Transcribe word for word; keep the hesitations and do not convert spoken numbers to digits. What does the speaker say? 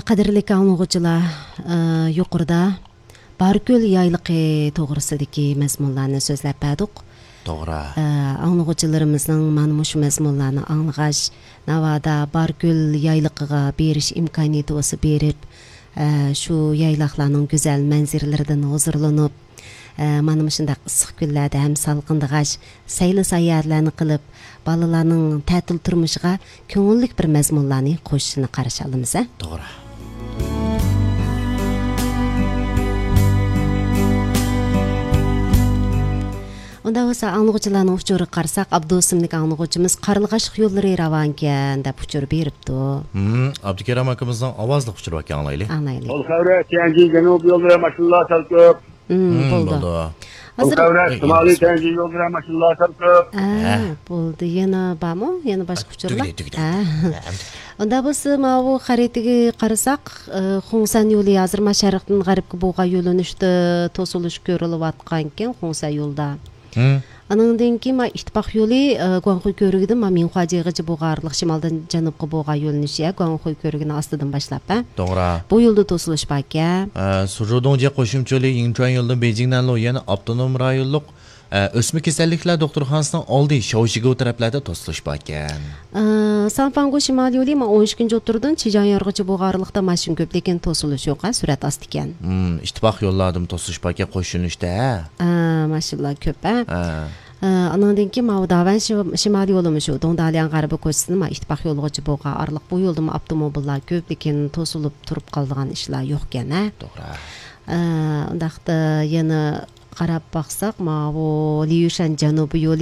قەدىرلىك ئاڭلىغۇچىلار، ئە، يۇقىرىدا باركۆل يايلىقى توغرىسىدىكى مەزمۇنلارنى سۆزلەپ بەردۇق. توغرا. ئە، ئاڭلىغۇچىلىرىمىزنىڭ مانا مۇشۇ مەزمۇنلارنى ئاڭلىغاچ، ناۋادا باركۆل يايلىقىغا بېرىش ئىمكانىيىتى بولسا بېرىپ، ئە، شۇ يايلاقلارنىڭ گۈزەل مەنزىرىلىرىدىن ھۇزۇرلىنىپ، ئە، مانا مۇشۇنداق ئىسسىق كۈنلەردە ھەم سالقىندىغاچ سەيلە ساياھەتلەرنى قىلىپ، بالىلارنىڭ تەتىل تۇرمۇشىغا كۆڭۈللۈك بىر مەزمۇنلارنى قوشۇشىنى قارشى ئالىمىز، ھە؟ توغرا. ئۇنداق بولسا، ئاڭلىغۇچىلارنىڭ ئۇچۇرىغا قارىساق، ئابدۇ ئىسىملىك ئاڭلىغۇچىمىز قارلىغاچلىق يوللىرى راۋانكەن دەپ ئۇچۇر بېرىپتۇ. ھىم، ئابدۇكېرەم ئاكىمىزنىڭ ئاۋازلىق ئۇچۇرى باركەن، ئاڭلايلى. ئاڭلايلى. ئۇل خەۋرە، تيەنجى جەنۇبىي يوللىرى ماشىنىلار سەل كۆپ. ھىم، ھىم، بولدى. بولدى. ئۇل ھازىر خەۋرە، ئەي، شىمالىي ئەمدى تيەنجى يوللىرى ماشىنىلار سەل كۆپ. ھە، ھە. بولدى. يەنە بارمۇ؟ يەنە باشقا ئۇچۇرلار؟ تۈگىدى، تۈگىدى. ھە. ھە، ئەمدى. ئۇندا بولسا، ماۋۇ خەرىتىگە قارىساق، ئى، خۇڭسەن يولى ھازىر ما شەرقتىن غەربكە بولغان يۆنىلىشتە توسۇلۇش كۆرۈلۈۋاتقانكەن، خۇڭسەن يولىدا. ھىم. ئانىڭدىن كېيىن ما ئىتتىپاق يولى، ئى، گۇاڭخۇي كۆۋرۈكىدىن ما مىڭخۇا جيېغىچە بولغان ئارىلىق شىمالدىن جەنۇبقا بولغان يۆنىلىش، يا، گۇاڭخۇي كۆۋرۈكىنىڭ ئاستىدىن باشلاپ، ھە؟ توغرا. بۇ يولدا توسۇلۇش باركەن. ئە، سۇژۇدۇڭجيې قوشۇمچە يولى يىڭچۈەن يولىدىن بېيجىڭ نەنلۇ يەنە ئاپتونوم رايونلۇق ئە، ئۆسمە كېسەللىكلەر دوختۇرخانىسىنىڭ ئالدى شاۋشىگۇ تەرەپلەردە توسۇلۇش باركەن. ئە، ساڭفاڭگۇ شىمالىي يولى ما ئون ئىككىنچى ئوتتۇرىدىن چىجياڭ يارغىچە بولغان ئارىلىقتا ماشىنا كۆپ، لېكىن توسۇلۇش يوق، ھە، سۈرئەت ئاستىكەن. ھىم، ئىتتىپاق يوللاردىمۇ توسۇلۇش باركەن، قوش يۆنىلىشتە، ھە؟ ئە، ماشىنىلار كۆپ، ھە؟ ھە. ئە، ئانىڭدىن كېيىن ماۋۇ داۋەن شىم-، شىمالىي يولىمۇ شۇ، دۇڭدالياڭ غەربىي كوچىسىدىن ما ئىتتىپاق يولىغىچە بولغان ئارىلىق، بۇ يولدىمۇ ئاپتوموبىللار كۆپ، لېكىن توسۇلۇپ تۇرۇپ قالىدىغان ئىشلار يوقكەن، ھە؟ توغرا. ئە، ئۇنداقتا يەنە قاراپ باقساق، ماۋۇ ليۇشەن جەنۇبىي يولى